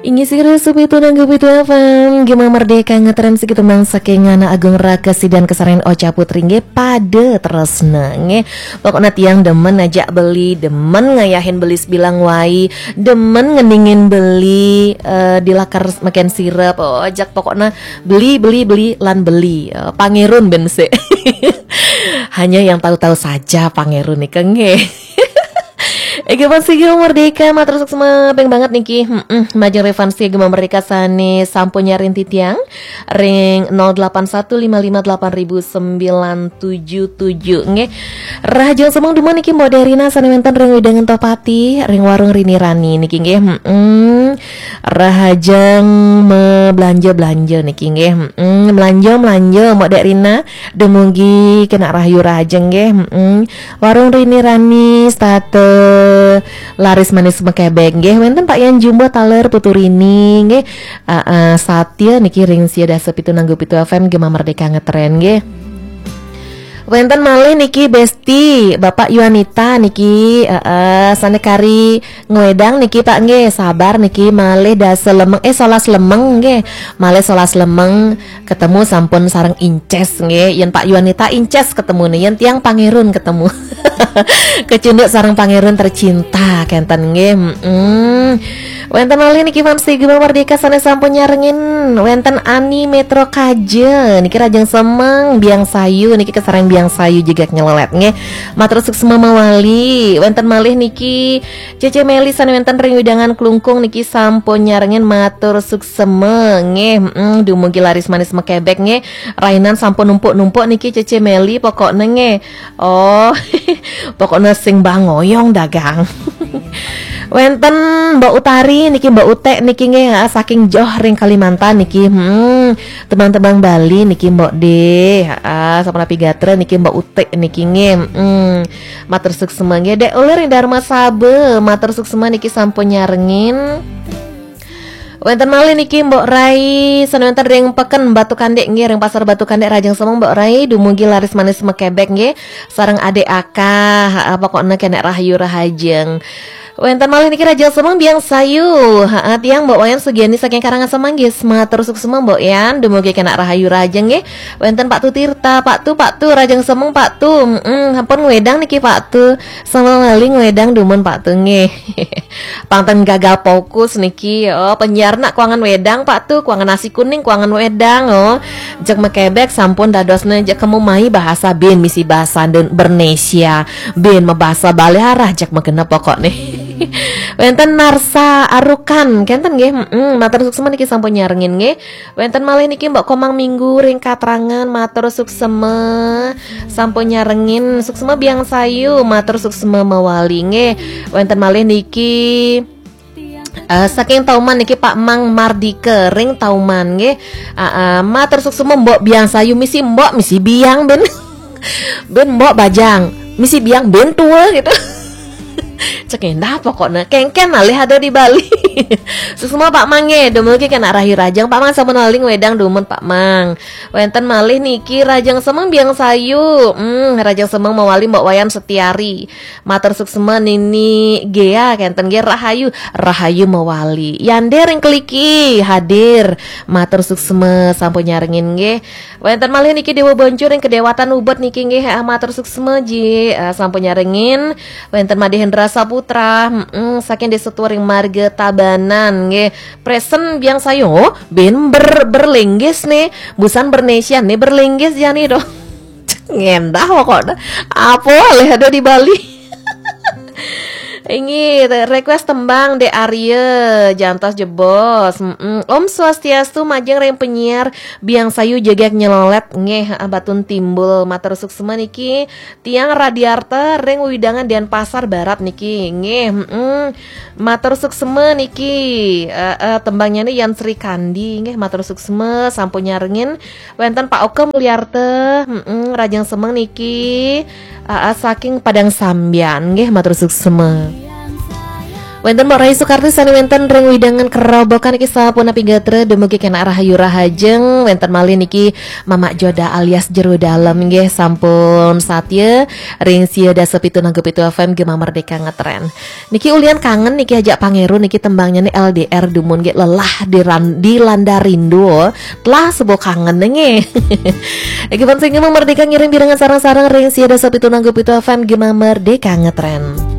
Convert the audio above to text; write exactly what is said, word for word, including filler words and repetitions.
Inggih sira supitu nanggu pitu F M, Gema Merdeka ngetren siki tembang saking Anak Agung Raka Sidan kesarengan Ocha Putri nggih, Pada Tresna nggih. Pokoknya tiang demen ajak beli, demen ngayahin beli sebilang wai, demen ngeningin beli, eh, di lakar makan sirup, oh, ajak pokoknya beli, beli, beli, lan beli. Eh, Pangerun ben sik. Hanya yang tahu-tahu saja Pangerun nih nggih. Ega Pasiga Merdeka, matur suksma ping banget niki. Heeh, majeng Revansi Gema Merdeka sane sampun nyaring titiang ring nol delapan satu lima lima delapan ribu sembilan tujuh tujuh nggih. Rahajeng semeng dumun niki Mbok Derina sane wenten ring wewidangan Tohpati, ring warung Rini Rani niki nggih. Heeh. Rahajeng me belanja-belanja niki nggih. Heeh, belanja-belanja Mbok Derina dumugi kena rahayu rahajeng nggih. Heeh. Warung Rini Rani, stata laris manis mekebek nggih. Wenten Pak Yan Jumbo taler Putu Rini nggih. Heeh, Satya niki ring sia dasa pitu nanggu pitu F M Gema Merdeka ngetren nggih. Wenten malih niki Besti, Bapak Yuanita niki, heeh, sane kari ngwedang niki Pak nggih, sabar niki malih dasa lemeng, eh, solas lemeng nggih. Malih solas lemeng ketemu sampun sareng Inces nggih. Yen Pak Yuanita Inces ketemu nih, yen tiang Pangerun ketemu. Kecunduk sareng Pangerun tercinta kenten nggih. Mm-mm. Wenten malih niki Fansi Gema Merdeka sane sampun nyarengin. Wenten Ani Metro Kaja niki rahajeng semeng, Biang Sayu niki kesareng Biang Sayu jegak nyelolet nggih. Matur suksma mawali. Wenten malih niki Cece Meli sane wenten ring wewidangan Klungkung niki sampun nyarengin, matur suksma nggih. Mm, dumugi laris manis mekebek nggih. Rainan sampun numpuk-numpuk niki Cece Meli pokokne nggih. Oh, pokoknya sing bangoyong dagang. Wenten Mbok Utari niki, Mbok Utek niki nggih, ha, saking Johor ring Kalimantan niki. Hmm, tembang-tembang Bali niki Mbok De. Ha, sapunapi gatra niki Mbok Utek niki nggih. Hmm, matur suksma nggih. Dek Ulir ring Darma Sabe, matur suksma niki sampun nyarengin. Wenten malih niki Mbok Rai, sane wenten ring peken Batu Kandik nggih, ring Pasar Batu Kandik, rahajeng semeng Mbok Rai, dumugi laris manis mekebek nggih, sareng adik Aka, ha, pokoknya kena rahayu rahajeng. Wenten malih niki rahajeng semeng Biang Sayu, ha, tiang Mbok Wayan Sugiani saking Karangasem nggih, matur suksma Mbok Yan, dumugi kena rahayu rahajeng nggih. Wenten Pak Tu Tirta, Pak Tu, Pak Tu, rahajeng semeng Pak Tu, mm, sampun ngwedang niki Pak Tu, sama malih ngwedang dumun Pak Tu nggih. Pang ten gagal fokus niki, oh, penyiar nak kuangan wedang Pak Tu, kuangan nasi kuning, kuangan wedang, oh. Jek mekebek sampun dadosne jek kemu mai bahasa bin misi bahasa Indonesia, bin mebahasa Bali arah jek megene pokok nih. Wenten Narsa Arukan, kenten nggih, mm, matur suksma niki sampun nyarengin nggih. Wenten malih niki Mbok Komang Minggu ring Katrangan, matur suksma sampun nyarengin, suksma Biang Sayu, matur suksma mawali nggih. Wenten malih niki, eh, saking Tauman niki Pak Mang Mardika ring Tauman nggih. Ah, ah, matur suksma Mbok Biang Sayu, misi Mbok, misi Biang ben. Ben Mbok bajang, misi Biang ben tua gitu. Cek endah pokoknya kengken alih ada di Bali. Suksma Pak Mang nggih, dumugi kena rahayu rahajeng Pak Mang, sampun malih ngwedang dumun Pak Mang. Wenten malih niki rahajeng semeng Biang Sayu. Hmm, rahajeng semeng mawali Mbok Wayan Setiari. Matur suksma Nini Gea kenten nggih, rahayu, rahayu mawali. Yande ring Keliki hadir. Matur suksma sampun nyarengin nggih. Wenten malih niki Dewa Boncu ring Kedewatan Ubud niki nggih, ah, matur suksma Ji, ah, sampun nyarengin. Wenten Made Hendra Saputra, mm, saking Desa Turing Marga Tabanan nggih. Presen Biang Sayu, oh, ben ber berlinggis nih, busan Bernesian nih berlinggis jani doh. Ngendah pokoknya. Apa leh ada di Bali? Ini request tembang De Arya, jantos jebos. Mm-mm. Om Swastiastu, majeng ring penyiar Biang Sayu jegek nyelolet nggih, ah, Batun Timbul, matur suksma niki. Tiang Radiarta ring wewidangan Denpasar Barat niki nggih. Mm-mm. Matur suksma niki. Eh, eh, tembangnya nih Yan Sri Kandi nggih, matur suksma sampun nyarengin. Wenten Pak Oke Mulyarta, mm-mm, rahajeng semeng niki, aa, saking Padang Sambian nggih, matur suksma. Wénten Mbok Rai Sukarti sané wénten ring wewidangan Kerobokan niki sapunapi gatra, dumugi kenak rahayu rahajeng. Wénten malih niki Mamak Joda alias Jero Dalem nggih, sampun satya ring sia dasa pitu nanggu pitu F M Gema Merdeka ngetren. Niki ulian kangen niki ajak Pangeru niki, tembangnyané L D R dumun nggih, lelah diran-, dilanda rindu. Telah sebo kangen nggih. Niki pun sing Gema Merdeka ngiring pirengan sareng-sareng ring sia dasa pitu nanggu pitu F M Gema Merdeka ngetren.